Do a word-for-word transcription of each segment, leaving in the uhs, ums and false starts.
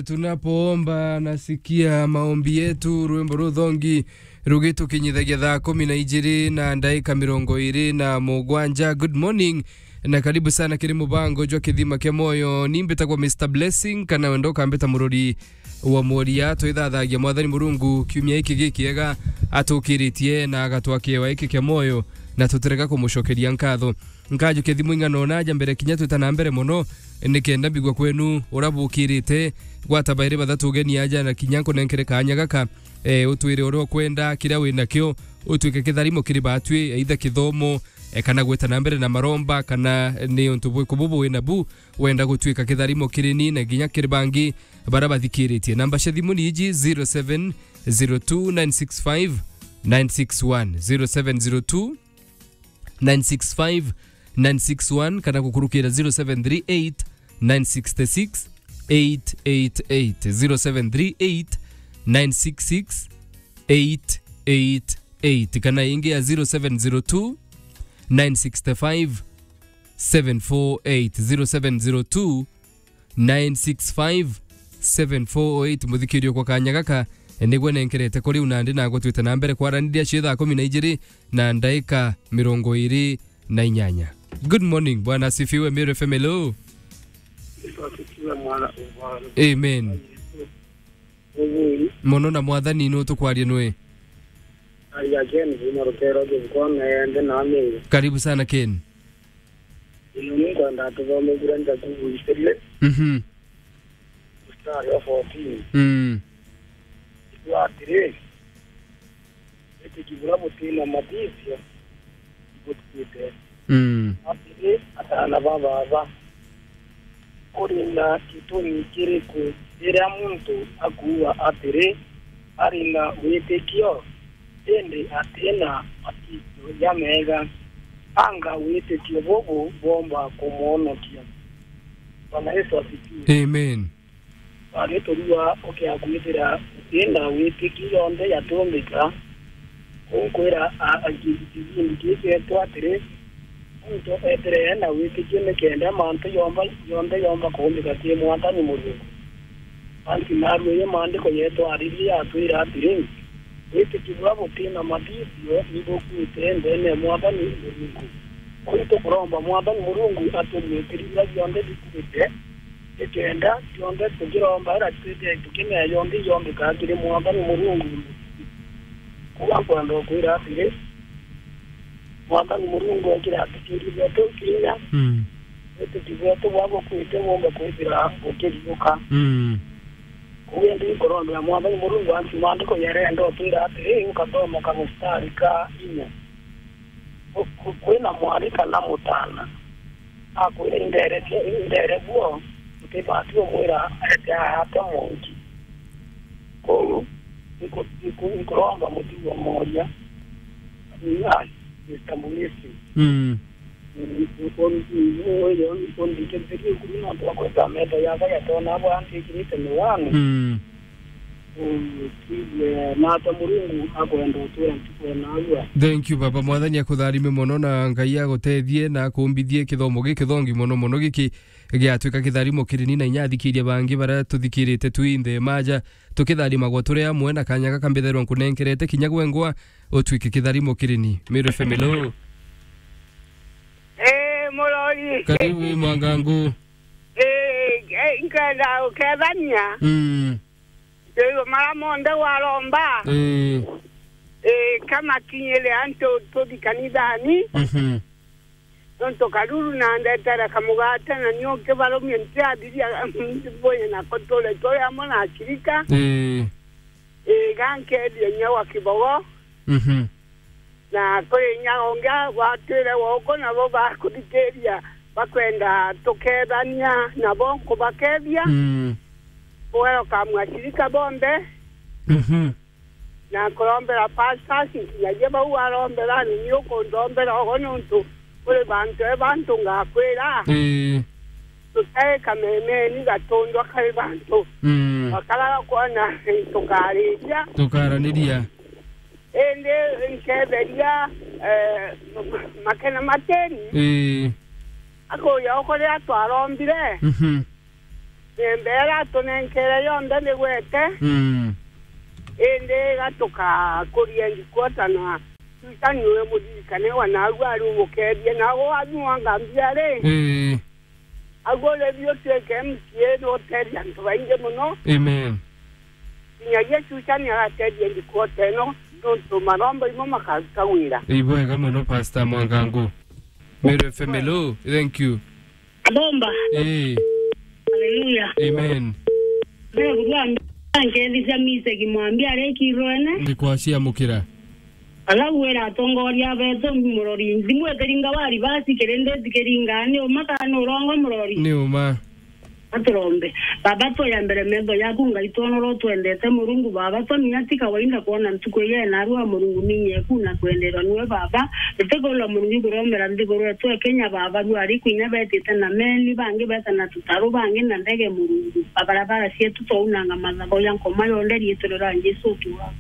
Tunapoomba nasikia maombi yetu, rwimbo ruthongi rugitukinyithagia thaa kumi na ijiri na ndaika mirongo iri na mugwanja. Good morning na karibu sana kiri mubango jwa Kithima kia Moyo. Ni mbitagwa Mister Blessing, kana wenda ukambita murori wa mworia. Twithathagia Mwathani Murungu kiumia giki gikiega atukiritie na agatwa kiewa giki kia moyo, na tutirega kumucokeria nkatho. Nkajukia thimu ing'ana ona aja mbere kinya twita na mbere mono, nikenda mbigua kwenu uria bukirite. Gwata bairi bathatu ugeni aja na kinya nkunenkere kaanya gaka, eh, utwire uria ukwenda, kiria wi nakio, utwike kitharimo kiri batwi, either kithomo, eh, kana gwita na mbere na maromba, kana ni untu bwiku bubu wi nabu wenda gutwika kitharimo kiri ni na kinya kiri bangi baria bathikiritie. Namba cia thimu ni iji: zero seven zero two nine six five nine six one, zero seven zero two nine six five nine six one, kana gukurukira zero seven three eight nine six six eight eight eight, zero seven three eight nine six six eight eight eight, kana ingi ya zero seven zero two nine six five seven four eight, zero seven zero two nine six five seven four oh eight. Muthikirio kwa kanya gaka, eh, nigwe nenkerete kuri u nandi nagwe twite na mbere kwaraniria cia thaa kumi na ijiri na ndaika mirongo iri na inyanya. Good morning, Bwana asifiwe, Meru F M, hello. Asifiwe, mwana ubaro. Amen. Amen. Mono na Mwathani, nu tukwaria nwe? Aria Ken, kuma Rukero, Githikone, ndi na Meru. Karibu sana, Ken. Ino ni nkwenda tuthome bura Jakubu three, Mhm. mstari wa fourteen. Mm. Ikiuga atiri, witiki bura butina mathithio, ibutuite. Mm. Atiri, atana ba baba, kuri na gitumi kiriku riria muntu akuuga atiri, ari na witikio, indi ati na mathithio jamega? Anga witikio bubu bwomba kumwonokia? Bwana Yesu asifiwe. Amen. Wari turua ukiakwithira uti na witiki yonthe yatumbika. Kunkwira a, a, ki-, kibindi kii kietwa atiri, muntu ethire ena witikio nikenda mantu yomba, yonthe yomba kuumbika ki Mwathani Murungu. Anti narua iyo maandiko yetwa Ariria atwira atiri, witiki bwa buti na mathithio ni bukuite ndeene ya Mwathani Murungu. Kuu tukuromba Mwathani Murungu atumwitiri bira bionthe bikuite, nikenda kionthe tukiromba ira twite tukimea yonthe yombika kiri Mwathani Murungu. Kuga nkwenda ukwira atiri, Mwathani Murungu ekire atikiri betu kinya, Mm. witiki bwetu bwa bukuite bumbe kwithira bukiriuka. Mm. Kuu indi nkurombera Mwathani Murungu antu maandiko yarenda utwira atiri, ukathoma kamustari ka inya. Ku-, ku-, kwina mwari kana mutana akwira, "Indere bwo, indere bwo," utibati umwira ete aate mungi. Kou nku-, nku-, nkuromba mutugo moria. Ai, Mister Mulisi. Mm. Mm, un-, un-, un-, undikithirie nguru nontu wa kwenda metho yakwa yatona bwa ntikirite miwani. Mm. Mm, twigue, nata Murungu akwenda utwira ntuku ya narua. Thank you, Baba. Mwathani akutharime mono na Ngai agutethie na akumbithie kithomo gikithongi mono mono giki giatwika kitharimo kiri ni na inya athikiria bangi baria tuthikirite twi nthe maja, tukitharimagwa turi amwe na kanya gaka mbithairwa nkunenkerete kinya gwengwa utwike kitharimo kiri ni. Meru F M, hello. Eh, murori. Karibu, Mwangangu. Eh, eh, nkenda ukethania. Mm. Ndio mara monthe waromba. Eh. Eh, kama kinyire antu tuthi kanithani. Mhm. Nontu karuru na ndetere kamugate na nio kibarumia ntiathiria mboye nako tule turi amwe na ashirika. Ii. Ii, gankeethia inya wa kibogo. Mhm. Na kuri inya ungi gwatwire woko nabo bakuthikiria bakwenda tukethania nabo nkubakeethia. Mm. Kugeroka mwashirika bonthe. Mhm. Na nkurombera pastors, nkinyagia bau arombera, ni ni ukundombera ogo, niuntu kuri bantu e bantu ngakwira, Ii. tutai kamemeni gatundwa kari bantu. Mm. Bakaraga kwona tukariria. Tukaraniria. Indi nketheria, eh, makena mateni. Ii. Akuria ukuria twarombire. Mhm. Miembe iria atunenkere yonthe nigwete. Mm. Indi gatukakuria ndikwota na Susan niwe muririkane wa naagua ari umukeethie, naagwe wathimwa ngambia ri. Ii. Aguo ri biu twike M C A ni uteethia antu baingi mono. Amen. Kinyagia Susan agateethia ndikwota ino, nontu maromba imo makaruta wira. Ibwega mono, Pastor Mwangangu. Meru F M, hello. Thank you. Bomba. Ii. Hallelujah. Amen. Mbere kurwa nkethithia mise kimwambia ari kirwene. Ndikwaciamukira. Ala wira atongoria betu murori. Thimu itiringa wari basi kirindi tikiringa ni uma kana ni urongo murori. Ni uma. Aturombe. Baba, twoya mbere metho yaku, Ngai, twonora utwendete. Murungu, Baba, twamenya ti kawaida kwona ntuku iji, narua Murungu, ninyeku na kwenderwa niwe, Baba. Tutikula Murungu kuromera nthiguru yetu ya Kenya, Baba, rua ari kwinya betite na meli, bangi beta na tutaru, bangi na ndege, Murungu. Barabara cietu twaunanga mathago ya nkoma yonthe, riitwa ria Jesu, utuura.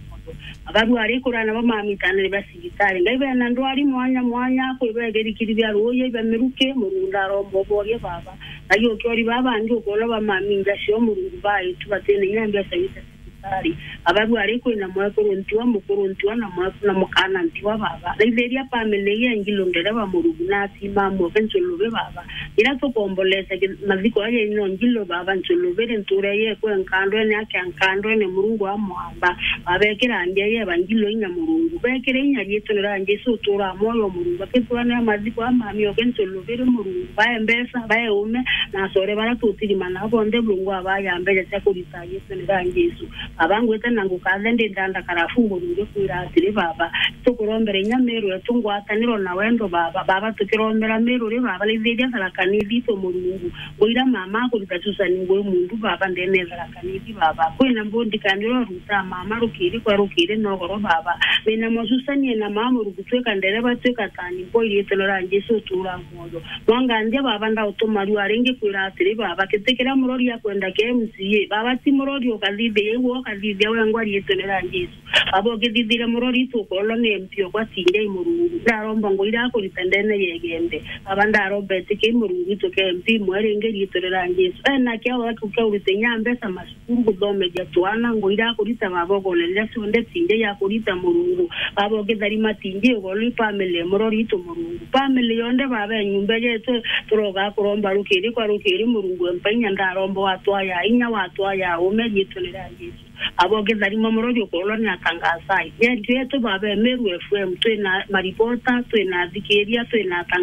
Abaru ari kurana ba mamitanire ba cibitari. Ngai, bena ndwari mwanya mwanya, kwi begerikiri bia ruuji, bia miruki, Murungu, ndaromba uborie, Baba. Ngai, ukiori baba bangi ukona ba maminja cio, Murungu, baitu batine inya mbeca cia cibitari. Abaru ari kwina mwekuru ntiwa, mukuru ntiwa, na mweku na mukana ntiwa, Baba. Raithiria family ya Ngilo ndereba, Murungu, na atima amwe, Nchulubi, Baba. Ira tukombolete ki-, mathiko aja ino Ngilo, Baba, Nchulubi, ntura yekwe nkandwene, akia nkandwene, Murungu wa mwamba. Babekira mbia ye Evangelo inya, Murungu. Bekire inya riitwa ria Jesu, utura mwoyo, Murungu. Akitwanira mathiko amami oke Nchulubi, Murungu. Bae mbeca, bae ume, na acore bara tutirimana bonthe, Murungu, abaya mbeca cia kurita riitwa ria Jesu. Baba, ngwite na ngukathe ndi ndanda karafu, Murungu, kwira atiri, Baba, tukurombera inya Meru yetu ngwataniro na wendo, Baba. Baba, tukirombera Meru ri, Baba, raithiria Tharaka Nithi itu, Murungu. Ngwira mama akurita Susan ngwi mundu, Baba, ndene ya Tharaka Nithi, Baba. Kwina mbundi kandi ura ruta mama rukiri kwa rukiri nogoro, Baba. Mina mo Susan ena mama, Murungu, twika ndereba, twika tani mpo, iriitwa ria Jesu, utura mwoyo. Mwanganthia, Baba, ndautuma rua ringi kwira atiri, Baba, giti kiria murori akwenda kia M C A. Baba, ti murori ukathithia, igwe ukathithia wengwa riitwa ria Jesu. Baba, ukithithire murori itu ukolwa ni M P okwa tinjai, Murungu. Ndaromba ngwira akurita ndene ya Igembe. Baba, ndaromba etiki, Murungu, itu ke M P mwe ringi riitwa ria Jesu. Ena kiao akiu kia urita inya mbeca masu Murungu, thomethia twana, ngwira akurita, Baba, ugoneria cionthe tinjai akurita, Murungu. Baba, ukitharima tinjai, ugoni family, murori itu, Murungu. Family yonthe, Baba, e nyumba yetu, turoga kuromba rukiri kwa rukiri, Murungu, empa inya, ndaromba watwaya inya, watwaya ume, riitwa ria Jesu. Baba, ukitharima murori ukorwa ni atangasai. Redio yetu, Baba, e Meru F M, twina maripota, twina athikiria, twina atangasai.